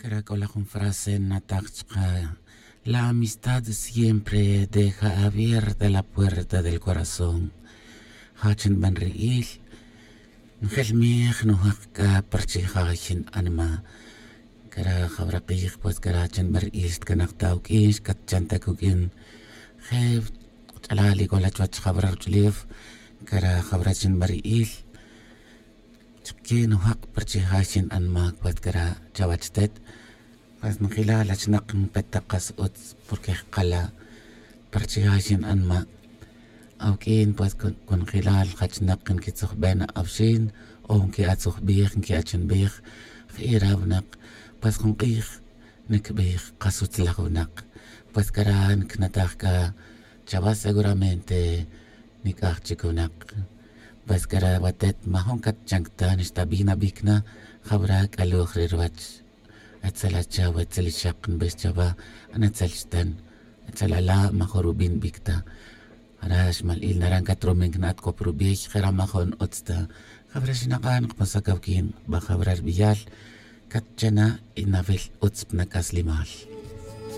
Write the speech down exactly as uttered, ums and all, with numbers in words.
C'ara c'o la jun frase nataj chka. La amistad siempre deja abierta la puerta del corazón. Ja' chin ban ri'il. Njel mij nujak c'a pa rchija xin anima. Cara jabra kij pues cara chin ban ri'il xtcanak ta uq'uin xcatchan ta cuq'uin. Je ch'alal ic'o la chuwech jabra ruch'ulef. Cara jabra chin ban ri'il. Chike nujak pa rchija xin anima pues cara chawech tet. Pues njila la chnak npet ta kas utz porque jkala pa rchija xin anima. Awq'uin pues con jila la jachnak nquitzujben awxin o nqui'atzujbij nqui'achanbij. Ji'ira winak pues jun k'ij nicbij kas utz laj winak. Pues cara ncnataj c'a chawa seguramente nic'aj chic winak. Pues cara watet majun catchancta nixta bi nabic na jawra c'aluj re ruwech. Etzel achaw etzel ixak nbix chawa anetzel xtan. Etzel ala' majun rubin bic ta. Ara xmal'il naran catrumin cna'at cop rubiy jera majun utz ta. Jawra xinak'an kpasa cawquin ba jawra rbiyal. Catchana' y nawil utz pnac'aslimal.